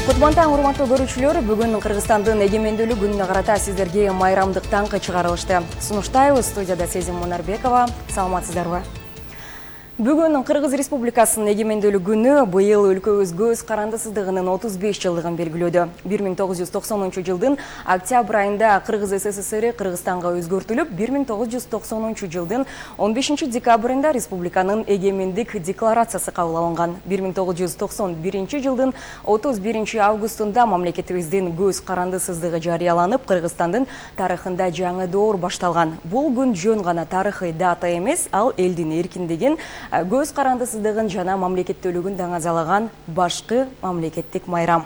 Кутмантан урматтуу көрүүчүлөр, бүгүн Кыргызстандын эгемендүүлүк күнүнө карата сиздерге майрамдык таңкы чыгарылышты. Сунуштайбыз, студияда Сезим Мунарбекова. Саламатсыздарбы? Бүгүн Кыргыз Республикасынын эгемендүүлүк күнү быйыл өлкөбүз көз карандысыздыгынын 35 жылдыгын белгилөөдө. 1990 октябрь айында Кыргыз СССР Кыргызстанга өзгөртүлүп, 1990 жылдын 15 декабрында республиканын эгемендик декларациясы кабыл алынган. 1991 жылдын 31 августунда мамлекетибиздин көз карандысыздыгы жарыяланып, Кыргызстандын тарыхында жаңы доор башталган. Бул күн жөн гана тарыхый дата эмес, ал элдин эркиндигин, көз карандысыздыгын жана мамлекеттүүлүгүн даңазалаган башкы мамлекеттик майрам.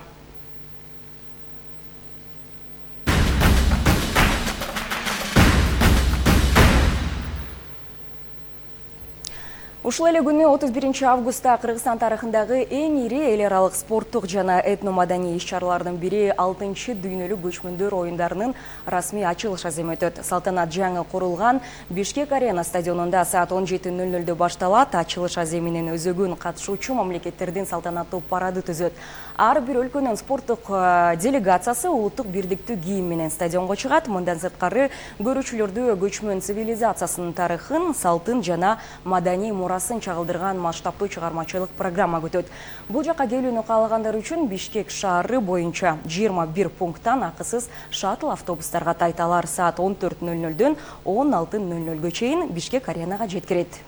Ушул эле күнү 31 августта Кыргызстан тарыхындагы эң ири эл аралык спорттук жана этномаданий иш-чаралардын бири 6-чы дүйнөлүк көчмөндөр оюндарынын расмий ачылыш аземи өтөт. Салтанат жаңы курулган Бишкек арена стадионунда саат 17:00 башталат. Ачылыш аземинин өзөгүн катышуучу мамлекеттердин салтанаттуу парады түзөт. Ар бир өлкөнүн спорттук делегациясы улуттук бирдиктүү кийим менен стадионго чыгат. Мындан сырткары көрүүчүлөрдү көчмөн цивилизациясынын тарыхын, салтын жана маданий мурасын чагылдырган масштабтуу чыгармачылык программа күтөт. Бул жака келүүнү каалагандар үчүн Бишкек шаары боюнча 21 пункттан акысыз шаттл автобустарга тайталар саат 14:00дөн 16:00 чейин Бишкек аренага жеткирет.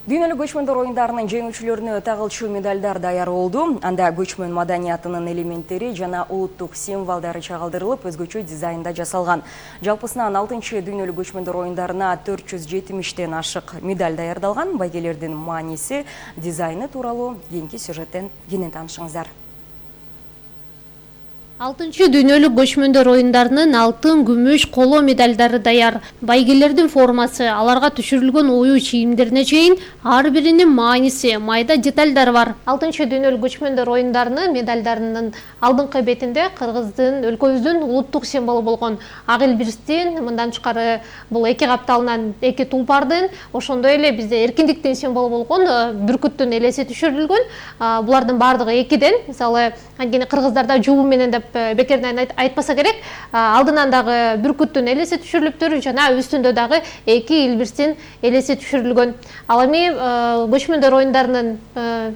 Дүйнөлүк көчмөндөр оюндарынын жеңүүчүлөрүнө тагылчу медалдар даяр болду. Анда көчмөн маданиятынын элементтери жана улуттук символдору чагылдырылып, өзгөчө дизайнда жасалган. Жалпысынан 6-чы дүйнөлүк көчмөндөр оюндарына 470тен ашык медаль даярдалган. Байгелердин мааниси, дизайны тууралуу кийинки сюжеттен кенен таанышыңыздар. 6-чы дүйнөлүк көчмөндөр оюндарынын алтын, күмүш, коло медалдары даяр. Байгелердин формасы, аларга түшүрүлгөн ою чийимдерине чейин ар биринин мааниси, майда деталдар бар. 6-чы дүйнөлүк көчмөндөр оюндарынын медалдарынын алдыңкы бетинде Кыргыздын, өлкөбүздүн улуттук символу болгон ак илбирстин, мындан тышкары бул эки капталынан эки тулпардын, ошондой эле бизде эркиндиктин символу болгон бүркүттүн элеси түшүрүлгөн. Булардын баардыгы экиден. Мисалы, анткени кыргыздарда жубу менен деп бекерден айтпаса керек, алдынан дагы бүркүттүн элеси түшүрүлүптүр жана үстүндө дагы эки илбирстин элеси түшүрүлгөн. Ал эми көчмөндөр оюндарынын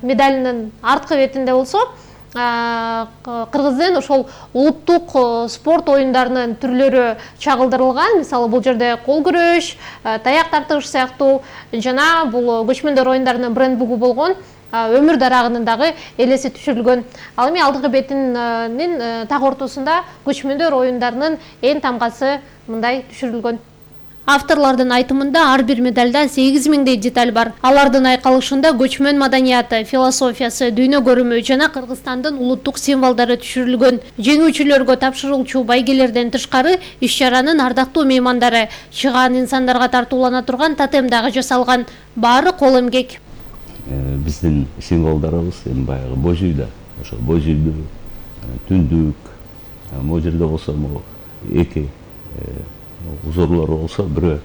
медалынын арткы бетинде болсо, Кыргыздын ошол улуттук спорт оюндарынын түрлөрү чагылдырылган. Мисалы, бул жерде кол күрөш, таяк тартыш сыяктуу жана бул көчмөндөр оюндарынын брендбугу болгон өмүр дарагынын дагы элеси түшүрүлгөн. Ал эми алдыңкы бетинин так ортосунда көчмөндөр оюндарынын эң тамгасы мындай түшүрүлгөн. Авторлордун айтымында ар бир медалда 8000дей деталь бар. Алардын айкалышында көчмөн маданияты, философиясы, дүйнө көрүмү жана Кыргызстандын улуттук символдору түшүрүлгөн. Жеңүүчүлөргө тапшырылчу байгелерден тышкары иш-чаранын ардактуу меймандары, чыгаан инсандарга тартуулана турган тотем дагы жасалган. Баары кол эмгек. Биздин символдорубуз эми баягы бой жүйдө, ошо бой жүйдү, түндүк, могу жерде болсо эки узорлор болсо бирөө